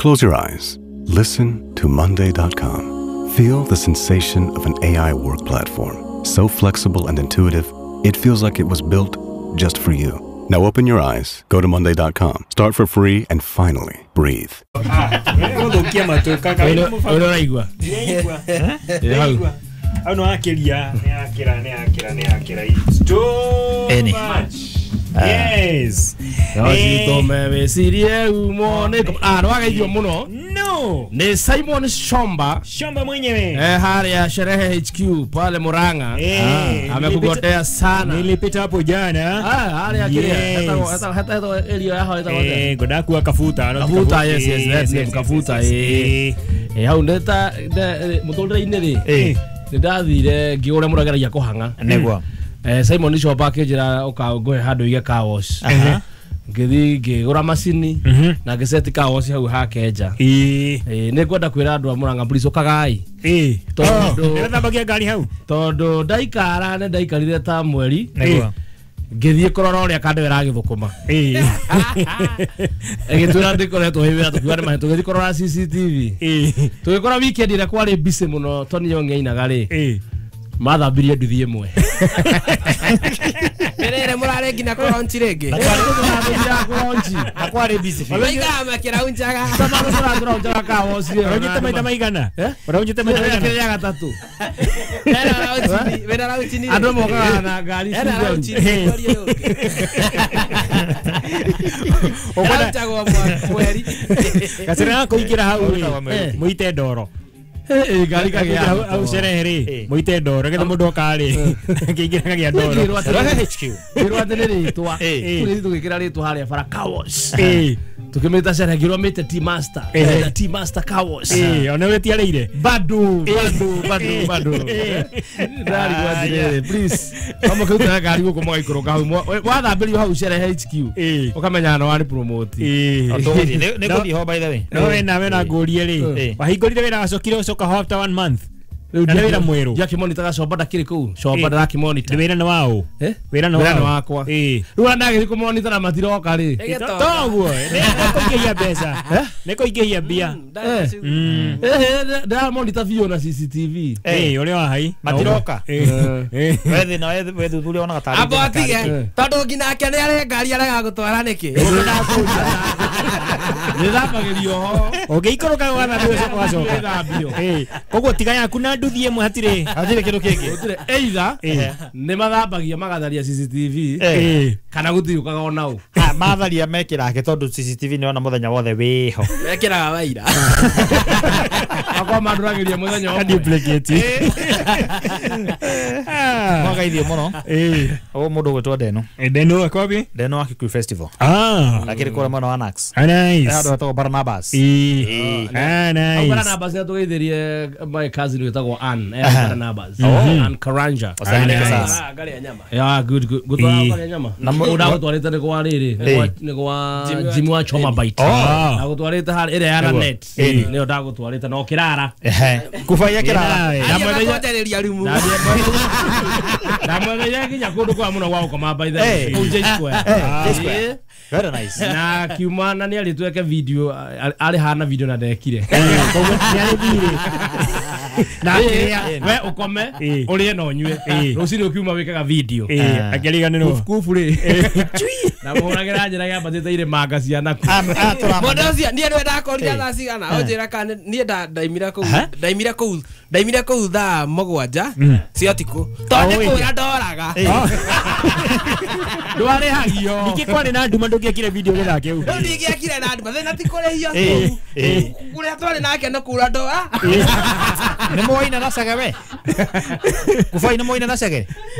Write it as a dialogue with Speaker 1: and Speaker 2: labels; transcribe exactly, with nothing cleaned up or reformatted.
Speaker 1: Close your eyes. Listen to Monday dot com. Feel the sensation of an A I work platform. So flexible and intuitive, it feels like it was built just for you. Now open your eyes, go to Monday dot com, start for free, and finally breathe.
Speaker 2: Yes.
Speaker 3: No.
Speaker 2: Ni Simon Shomba.
Speaker 3: Shomba mwenyewe.
Speaker 2: Eh, hali Sherehe H Q pale Murang'a.
Speaker 3: Eh,
Speaker 2: amekugotea sana.
Speaker 3: Nilipita hapo jana.
Speaker 2: Ah, hali ya kile. Hata hata hata elio ya hata hata.
Speaker 3: Eh, godaku akafuta.
Speaker 2: Kafuta, yes yes, yes, yes, kafuta. Eh. Eh, hau ndeta mutolre ine ri.
Speaker 4: Eh.
Speaker 2: Ndathire ngiure murageragia kuhanga.
Speaker 4: Negwa.
Speaker 2: Eh, Simon Shomba akinjira uka ngohe handu ige car wash. Ngithi ngigura macini na ngiceti car wash hau hake nja.
Speaker 3: Eh.
Speaker 2: Eh, nĩ ngwenda kwĩra andũ a Murang'a please ũkagai.
Speaker 3: Eh.
Speaker 2: Tondu
Speaker 3: nĩrathambagia ngari hau.
Speaker 2: Tondu ndaikara nĩ ndaikarire ta mweri.
Speaker 4: Nĩguo.
Speaker 2: Ngĩthiĩ kũrora ũrĩa kandũ ĩragĩthũkũma.
Speaker 3: Eh.
Speaker 2: Ĩgĩtwĩra ndĩkoretwo hĩ wĩra tũkiuga nĩ mahe tũgĩthiĩ kũrora C C T V.
Speaker 3: Eh.
Speaker 2: Tũgĩkora weekend ĩrĩa kwarĩ busy mũno Tony Young ainaga rĩ.
Speaker 3: Eh.
Speaker 2: Mathambirie nduthi ĩmwe.
Speaker 5: Merere murare nginya kũronchi rĩngĩ.
Speaker 4: Na kwarĩ busy biũ.
Speaker 5: Maikaraga makĩraunjaga.
Speaker 2: Tũraunjaga car wash ĩyo.
Speaker 3: Ũraunjĩte maita maigana? Ũraunjĩte maita maigana?
Speaker 2: Kĩrĩa gatatũ.
Speaker 5: Hena raunchini, wena raunchini.
Speaker 2: Andũ mokaga na ngari
Speaker 5: Hena raunchini kwari ĩyo. Ũraunjagwo mweri.
Speaker 3: Gacĩra gako ingĩra hau rĩ, mũite ndoro.
Speaker 2: Eh, ngari kagĩa
Speaker 3: hau Sherehe rĩ, mũite ndoro getha mũndũ oka rĩ, akĩingĩra kagĩa ndoro.
Speaker 4: Sherehe H Q.
Speaker 2: Ngĩrwo atĩ nĩ rĩtwa. Tũgĩthiĩ tũgĩkĩra rĩtwa harĩa bara car wash. Tukimita Sherehe ngĩrwo mĩte T Master. T Master car wash.
Speaker 3: Eh, ona ũrĩa
Speaker 2: Bado, bado, bado, bado. Ndarigwo atĩrĩrĩ, please. Kama kĩrutaga ngari gũkũ mũgaikũrũka hau. Wathambĩrio hau Sherehe H Q. Ũkamenya no warĩ promote.
Speaker 3: Eh.
Speaker 4: Nĩ ngũthiĩ ho by the way.
Speaker 3: No wena wena ngũrie rĩ. Wahingũrire wĩra wacokire ũcoka ho after one month. Na nĩ wĩra mwerũ.
Speaker 2: Ndiakĩmonitaga Shomba ndakĩrĩ kũu. Shomba ndarakĩmonita.
Speaker 3: Wĩra nĩ waũ? Wĩra nĩ
Speaker 2: wakwa. Rĩu ona ndagĩthiĩ kũmonita na matiroka rĩ.
Speaker 3: Toguo. Nĩ kũingĩhia mbeca. Nĩ kũingĩhia mbia.
Speaker 2: Ndĩramonita biũ na C C T V.
Speaker 3: Eh, ũrĩa wa hai.
Speaker 4: Matiroka. We thĩna we thuthuria wonaga tarĩ.
Speaker 5: Amba atige. Tondũ nginya ake nĩ arĩ ngari arega gũtwara nĩkĩ?
Speaker 2: Nĩthambagĩrio ho.
Speaker 3: Ũngĩikũrũka wathambio ũcoka wacoka.
Speaker 2: Nĩthambio.
Speaker 3: Koguo tiga yaku na nduthi ĩmwe hatirĩ.
Speaker 4: Hatirĩ kĩndũ kĩngĩ.
Speaker 2: Gũtirĩ. Either nĩ mathambagia magatharia C C T V kana gũthiũkaga ona ũ.
Speaker 4: Ha matharia mekĩrake tondũ C C T V nĩ ona mũthenya wothe wĩho.
Speaker 5: Mekĩraga waira.
Speaker 2: Akwa mandũragĩria mũthenya
Speaker 3: ũmwe. Duplicate.
Speaker 4: Mwagaithio mũno.
Speaker 3: Eh.
Speaker 4: Ũyũ mũndũ ũgwĩtwo Ndeno.
Speaker 3: Ndeno akobi?
Speaker 4: Ndeno wa Kikuyu Festival.
Speaker 3: Ah.
Speaker 4: Lakini kũrĩa mwena wa Nax.
Speaker 3: Ah, nice.
Speaker 4: Handũ hetagwo Barnabas.
Speaker 3: Eh. Ah, nice.
Speaker 2: Barnabas nĩ atũgeithirie my cousin wĩtagwo Ann, eh Barnabas. Ann Karanja.
Speaker 5: Ngarĩa nyama.
Speaker 2: Yeah, good good. Gũtwara ngarĩa nyama. Ũũ ndagũtwarĩte nĩ kwa rĩrĩ, nĩ kwa Jimmy wa Choma Bite. Ndagũtwarĩte harĩa ĩrĩa ya net. Nĩyo ndagũtwarĩte na ũkĩrara.
Speaker 4: Ehe. Kubaia kĩrara.
Speaker 5: Ndamwenderia rumu.
Speaker 2: Ndamwenderia nginya kũndũ kwa mũno gwa gũkoma by the way. Kũu J Square.
Speaker 4: J Square. Very nice.
Speaker 2: Na kiuma na nĩ arĩtweke video arĩ hana video na ndekire.
Speaker 3: Koguo nĩ arĩthire.
Speaker 2: Na we ukome urie na unyue rucini ukiuma wikaga video
Speaker 3: akiriganirwo
Speaker 2: kufu ri na muhuragira njira yambatite ire manga ciana ku
Speaker 5: mundu ucio nie niwe ndakorire thaa cigana unjira kana nie ndaimira kuu ndaimira kuu ndaimira kuu thaa mugwanja cia tiku tondu ni kura ndoraga
Speaker 2: ndwarihagio
Speaker 3: niki kwari na nduma ndungiekire video githaa kiu
Speaker 5: riu ndingiekire na nduma thina ti kurihio kuria twari nake no kura ndora
Speaker 4: ni moina na cege we kubai ni moina na cege.